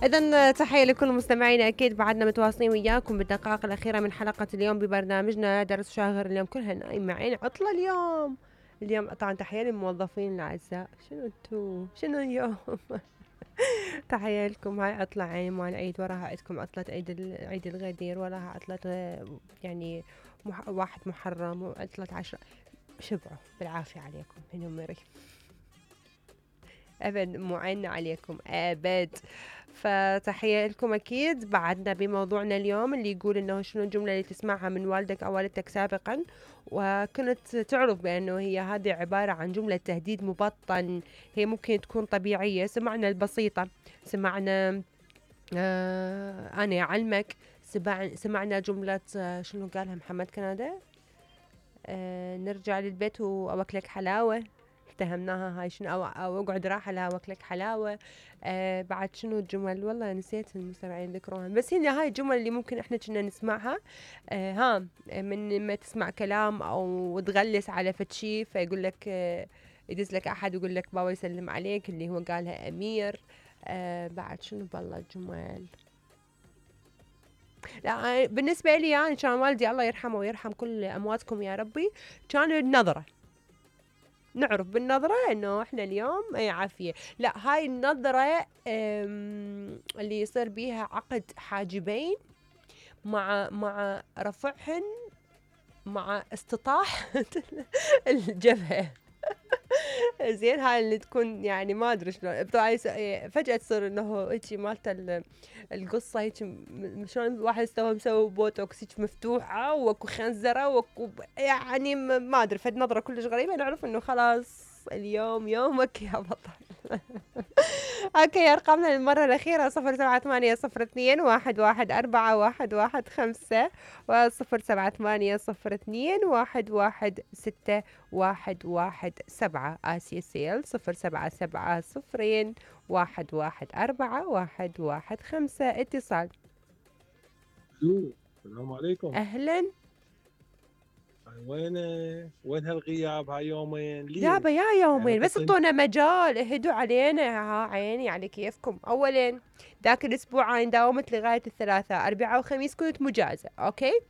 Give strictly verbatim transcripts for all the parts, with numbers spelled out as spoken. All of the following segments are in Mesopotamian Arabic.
إذن تحية لكل مستمعينا، أكيد بعدنا متواصلين وياكم بالدقائق الأخيرة من حلقة اليوم ببرنامجنا درس شاغر. اليوم كلها نايمين، عطلة اليوم. اليوم طبعا تحية للموظفين الأعزاء. شنو انتو شنو اليوم؟ تحية لكم. هاي عطلة عين مال عيد، وراها عندكم عطلة عيد ال- عيد الغدير، وراها عطلة آه، يعني مح واحد محرم وعطلة عشرة. شبعوا بالعافية عليكم هنا مري. أبد مو عنا عليكم أبد. فتحية لكم. أكيد بعدنا بموضوعنا اليوم اللي يقول إنه شنو الجملة اللي تسمعها من والدك أو والدتك سابقا وكنت تعرف بأنه هي هذه عبارة عن جملة تهديد مبطن. هي ممكن تكون طبيعية، سمعنا البسيطة، سمعنا آه أنا أعلمك، سمع سمعنا جملة آه شنو قالها محمد كنادة، آه نرجع للبيت وأوكلك حلاوة، اتهمناها هاي شنو، أو, أو اقعد راحة لا وكلك حلاوة. آه بعد شنو الجمل، والله نسيت المستمعين ذكروها، بس هي هاي الجمل اللي ممكن احنا كنا نسمعها. آه ها من ما تسمع كلام او تغلس على فتشي فيقول لك آه يدز لك احد يقول لك بابا يسلم عليك، اللي هو قالها امير. آه بعد شنو بالله الجمل. لا بالنسبة لي يعني كان والدي الله يرحمه ويرحم كل امواتكم يا ربي، كان النظرة، نعرف بالنظرة انه احنا اليوم اي عافية. لا هاي النظرة اللي يصير بيها عقد حاجبين مع مع رفعهن مع استطاح الجبهة. زين هاي اللي تكون يعني ما ادري شلون فجأة تصير انه هيجي مالت القصة هيك شلون واحد استوى مسوي بوتوكس هيك مفتوحة وكو خنزرة وكو يعني ما ادري، فد نظرة كلش غريبة، نعرف انه خلاص اليوم يومك يا بطل. اوكي ارقامنا للمرة الأخيرة صفر سبعة ثمانية صفر اثنين واحد واحد أربعة واحد واحد خمسة وصفر سبعة ثمانية صفر اثنين واحد واحد ستة واحد واحد سبعة. آسيا سيل صفر سبعة سبعة صفرين واحد واحد أربعة واحد واحد خمسة. اتصال. السلام عليكم. أهلا. وين وين هالغياب هاي يومين يابا ليش؟ يا يعني يومين بس قطن اعطونا مجال، اهدوا علينا. ها عيني على كيفكم. اولا ذاك الاسبوع انا داومت لغايه الثلاثاء، اربعاء وخميس كنت مجازه، اوكي.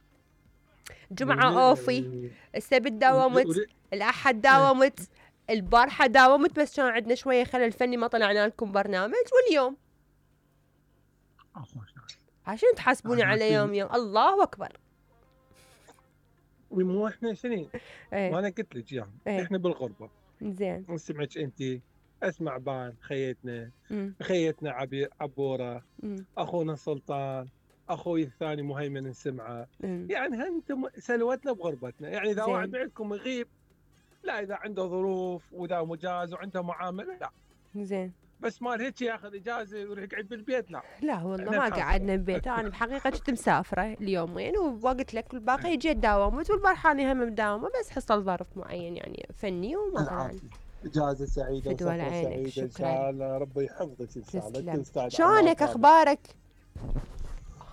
جمعه اوفي، السبت داومت، الاحد داومت، البارحه داومت، بس كان عندنا شويه خلل فني ما طلعنا لكم برنامج. واليوم عشان تحاسبوني على يوم يوم. الله اكبر. مو احنا سنين. ايه وانا قلت لك يعني ايه احنا بالغربه. زين. اسمعك انت، اسمع بان خيتنا، امم خيتنا عبي عبوره، امم اخونا سلطان، اخوي الثاني مهيمن السمعه. امم يعني انتم سلوتنا بغربتنا. يعني اذا واحد زين بعدكم يغيب، لا اذا عنده ظروف واذا مجاز وعنده معامله لا، زين. بس مال هيك ياخذ اجازه ويروح يقعد بالبيت لا. لا والله احنا ما نحاسبه. قعدنا ببيت، انا بحقيقه كنت مسافره اليومين وقلت لك الباقي جيت داومت، والبارحه انا هم مداومه بس حصل ظرف معين يعني فني وما طلعنا. العافيه، اجازه سعيده فدوى وسفره لعينك، سعيده ان شكرا. شاء الله. ربي يحفظك ان شاء الله، انت تسلم. استاذ عناد شلونك طالب. اخبارك؟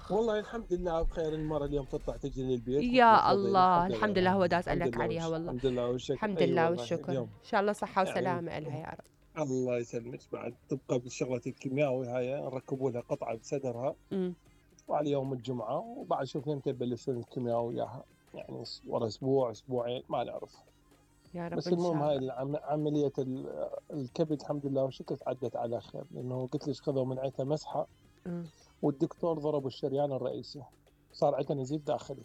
والله الحمد لله بخير. المره اليوم تطلع تجي للبيت مثل يا الفضيله. الله الحمد الحمد لله، لله، هو داس الحمد لك لله عليها وش والله. الحمد لله والشكر. الحمد اي لله والله والشكر، ان اليوم شاء الله صحه يعني وسلامه الها يا رب. الله يسلمك. بعد تبقى بشغله الكيماوي هاي نركبوا لها قطعه بصدرها امم وعلى يوم الجمعه، وبعد شوف متى يبلشون الكيماوي وياها، يعني ورا اسبوع اسبوعين ما نعرف. يا رب بس ان المهم شاء هاي الله. العم- عملية ال- الكبد الحمد لله والشكر عدت على خير، لأنه قلت لك خذوا من عندها مسحة امم والدكتور ضرب الشريان الرئيسي، صار عندها نزيف داخلي.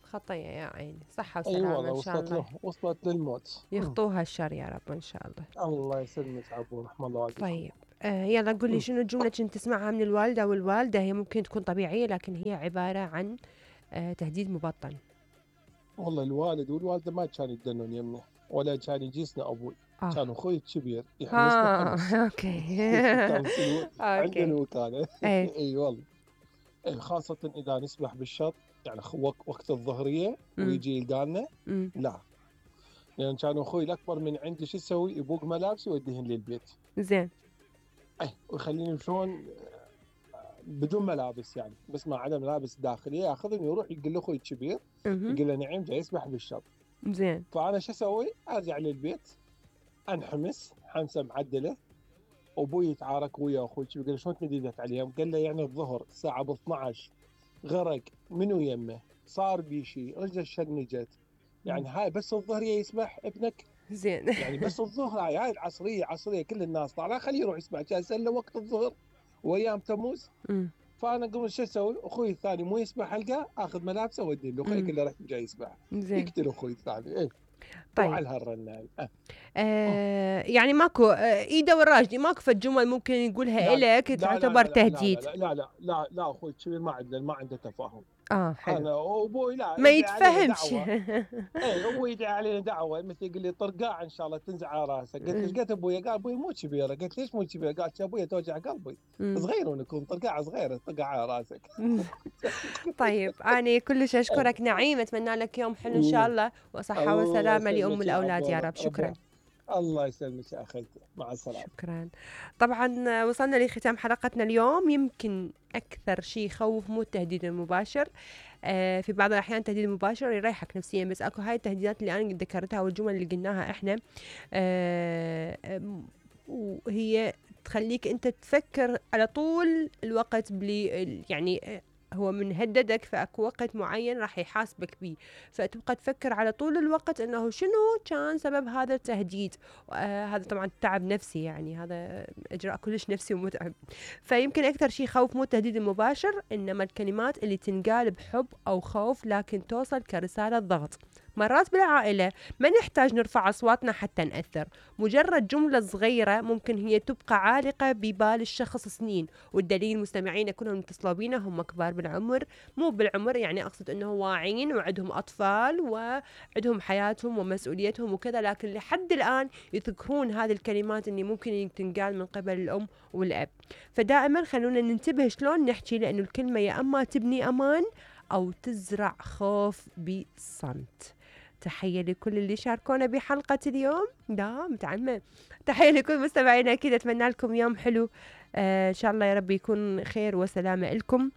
خطيه يا عيني، صحه أي أيوة وسلامه والله ان شاء وصلت الله. له، وصلت للموت. أمم. يخطوها الشر يا رب ان شاء الله. الله يسلمك عبو، رحم الله والديكم. طيب آه يلا قولي أمم. شنو الجملة كنت تسمعها من الوالدة والوالدة، هي ممكن تكون طبيعية لكن هي عبارة عن آه تهديد مبطن. والله الوالد والوالدة ما كانوا يدنون يمي ولا كان يجيسنا أبوي، اه كان أخوي الكبير يحمسنا ها حمس. اوكي. كان في الو... عند اوكي. الوكالة. ايه اي والله. إيه، خاصة إذا نسبح بالشط، يعني خ- وق- وقت الظهرية امم ويجي يلقانا امم لا. لأن كان أخوي الأكبر من عندي شو يسوي؟ يبوق ملابسي ويوديهن للبيت. زين. إيه ويخليني يمشون بدون ملابس، يعني بس ما عدا ملابس داخلية، ياخذهم يروح يقول له أخوي الكبير، اها يقول له نعيم جاي يسبح بالشط. زين. فأنا شو أسوي؟ أرجع للبيت أنحمس حمسة معدلة وابوي يتعارك ويا اخوي، قال له شلون تمديدك عليهم؟ قال له يعني الظهر الساعه ب اثنعش غرق منو يمه، صار بي شيء، رجله شنجت، يعني هاي بس الظهر يسبح ابنك؟ زين. يعني بس الظهر، هاي هاي العصريه عصريه كل الناس طالعه، خليه يروح يسبح، كان له وقت الظهر وايام تموز. أمم. فانا قبل شو اسوي؟ اخوي الثاني مو يسبح القاه، اخذ ملابسه اودي له، خليه أمم. كله راح جاي يسبح، زين. يقتل اخوي الثاني. ايه طيب. وعلى هالرنه هاي. أه. آه يعني ماكو آه ايده والراجدي، ماكو فد جمل ممكن يقولها لا لا إلك لا لا تعتبر لا لا لا تهديد؟ لا لا لا لا لا اخوي الكبير ما عنده ما عنده تفاهم. اه حلو. انا وابوي لا ما يدعي علينا يتفهمش. دعوه. اي ابوي يدعي علينا دعوه، مثل يقول لي طرقاع ان شاء الله تنزع على راسك. قلت له ايش قلت ابوي؟ قال ابوي مو كبيره. قلت ليش مو كبيره؟ قال يا ابوي توجع قلبي، أمم. صغير ونكون طرقاعه صغيره طقع على راسك. طيب أنا كلش إيه. أشكرك نعيم، أتمنى لك يوم حلو إن شاء أمم. الله، وصحة الله وسلامة لأم يسلمك يا الأولاد يا عبود، رب. ربي شكرا. الله يسلمك يا اخيتي، مع السلامه. شكرا. طبعا وصلنا لختام حلقتنا اليوم. يمكن أكثر شيء يخوف مو التهديد المباشر، آه في بعض الأحيان التهديد المباشر يريحك نفسيا، بس أكو هاي التهديدات اللي أنا ذكرتها والجمل اللي قلناها إحنا، آه آه، وهي تخليك أنت تفكر على طول الوقت بلي يعني آه، هو من هددك فاكو وقت معين راح يحاسبك بيه، فتبقى تفكر على طول الوقت انه شنو كان سبب هذا التهديد. آه هذا طبعا تعب نفسي، يعني هذا اجراء كلش نفسي ومتعب. فيمكن اكثر شيء خوف مو التهديد المباشر، انما الكلمات اللي تنقال بحب او خوف لكن توصل كرسالة ضغط. مرات بالعائلة ما نحتاج نرفع أصواتنا حتى نأثر، مجرد جملة صغيرة ممكن هي تبقى عالقة ببال الشخص سنين. والدليل مستمعين كلهم اتصلوا بينا هم كبار بالعمر، مو بالعمر يعني أقصد أنه واعين وعندهم أطفال وعندهم حياتهم ومسؤوليتهم وكذا، لكن لحد الآن يذكرون هذه الكلمات اللي ممكن تنقال من قبل الأم والأب. فدائما خلونا ننتبه شلون نحكي، لأنه الكلمة يا أما تبني أمان أو تزرع خوف بصمت. تحية لكل اللي شاركونا بحلقة اليوم. لا متعلمة. تحية لكل مستمعينا، أكيد أتمنى لكم يوم حلو، آه إن شاء الله يا رب يكون خير وسلامة لكم.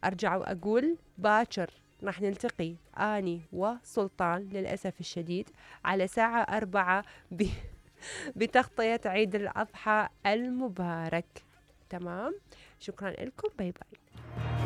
أرجع وأقول باكر راح نلتقي أني وسلطان للأسف الشديد على ساعة أربعة ب... بتغطية عيد الأضحى المبارك. تمام، شكرا لكم، باي باي.